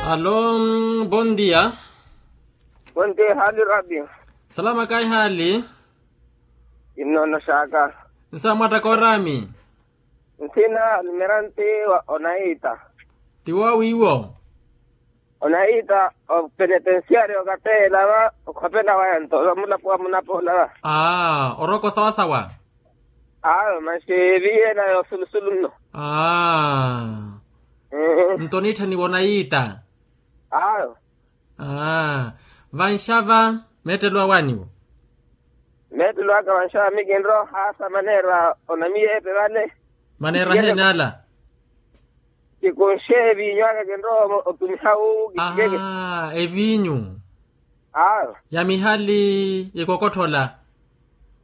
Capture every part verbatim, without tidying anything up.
Alo. Bon dia. Bon dia hali rabio. Salama kayi hali. Innono xaka. Nsa mwatta korami. Nthina almiranti wa onaita. Tiwo wiwo. Onaita o penetensiari okateela va okhopela waya nto va mulapo wa munapola va. Aa oroko sawasawa. Awe maxi viyela yosulusulu nno. Aa. Nto niitthaniwa onaita. Awe. Aa. Vanxava meettelo awaniwo. Meettelo aka vanxava mikinroha sa maneera onamiyeepe vale. Maneera heene ala. Kikunxe evinyu aka kinrowa otumiha wu kikeke. Aa evinyu. Awe. Ya mihali ikokotthola.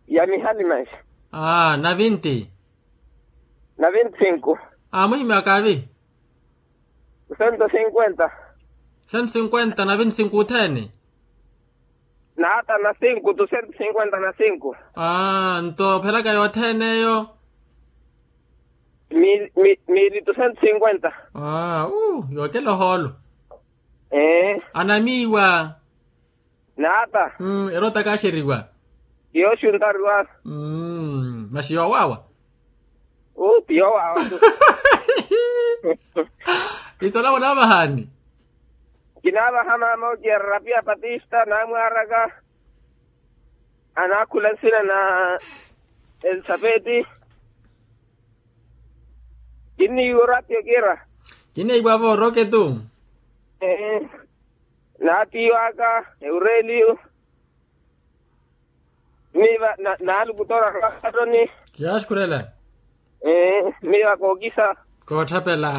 Ya mihali maxi. Aa na vinti. Na vinti sinku. Aa muhimyaka avi. Sento sinkwenta. Sento sinkwenta na vinti sinku othene. Naata na sinku tu sento sinkwenta na sinku. Aa nto ophelaka yothene eyo. Miili tu sento sinkwenta. Aa yookela ohoolo. Anamiiwa. Naata. Ero otakaxeriwa. Yooxuntariwa. Maxi yoowaawa. Uu ti yoowaawa tu. Isala munaavahani. Kinaavaha maama okiya rapia patista naamwaaraka. Anaakhula nsina na elisapeti. Kinniiwa orapio kira. Kinniiwa vo oroke tu. Naatiiwaka eureliyo. Miiva naalukutora rwattoni. Kiyaaxukhurela. Miiva kookisa. Kootthapela.